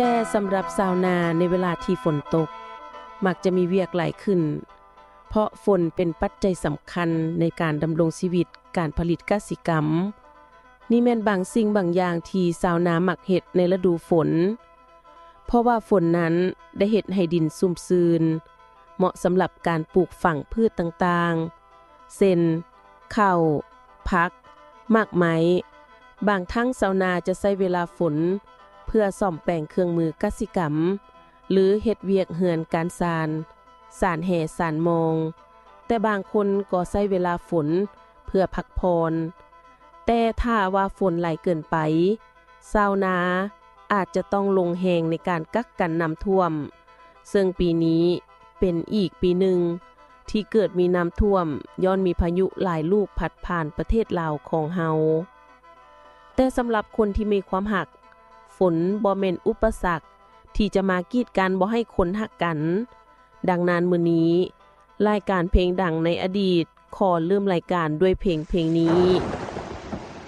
ແຕ່ສຳລັບຊາວນາໃນເວລາທີ່ຝົນຕົກ ມັກຈະມີວຽກຫຼາຍຂຶ້ນ ເພາະຝົນເປັນປັດໄຈສຳຄັນໃນການດຳລົງຊີວິດ ການຜະລິດກະສິກຳ. ນີ້ແມ່ນບາງສິ່ງບາງຢ່າງທີ່ຊາວນາມັກເຮັດໃນລະດູຝົນ ເພາະວ່າຝົນນັ້ນໄດ້ເຮັດໃຫ້ດິນຊຸ່ມຊື່ນ ເໝາະສຳລັບການປູກຝັງພືດຕ່າງໆ ເຊັ່ນ ເຂົ້າ, ຜັກ, ໝາກໄມ້. ບາງຄັ້ງຊາວນາຈະໃຊ້ເວລາຝົນເພື່ອສ້ອມແປງເຄື່ອງມືກະສິກຳ ຫຼື ເຮັດວຽກເຮືອນການຊານ, ສານແຫ, ສານມອງ. ແຕ່ບາງຄົນກໍໃຊ້ເວລາຝົນເພື່ອພັກຜ່ອນ. ແຕ່ຖ້າວ່າຝົນຫຼາຍເກີນໄປ, ຊາວນາອາດຈະຕ້ອງລົງແຮງໃນການກັກກັນນ້ຳຖ້ວມ, ເຊິ່ງປີນີ້ເປັນອີກປີໜຶ່ງທີ່ເກີດມີນ້ຳຖ້ວມ ຍ້ອນມີພາຍຸຫຼາຍລູກພັດຜ່ານປະເທດລາວຂອງເຮົາ. ແຕ່ສຳລັບຄົນທີ່ມີຄວາມຮັກ, ຝົນບໍ່ແມ່ນອຸປະສັກທີ່ຈະມາກີດກັ້ນບໍ່ໃຫ້ຄົນຮັກກັນ. ດັ່ງນັ້ນ ມື້ນີ້ ລາຍການເພງດັງໃນອະດີດ ຂໍເລີ່ມລາຍການດ້ວຍເພງເພງນີ້.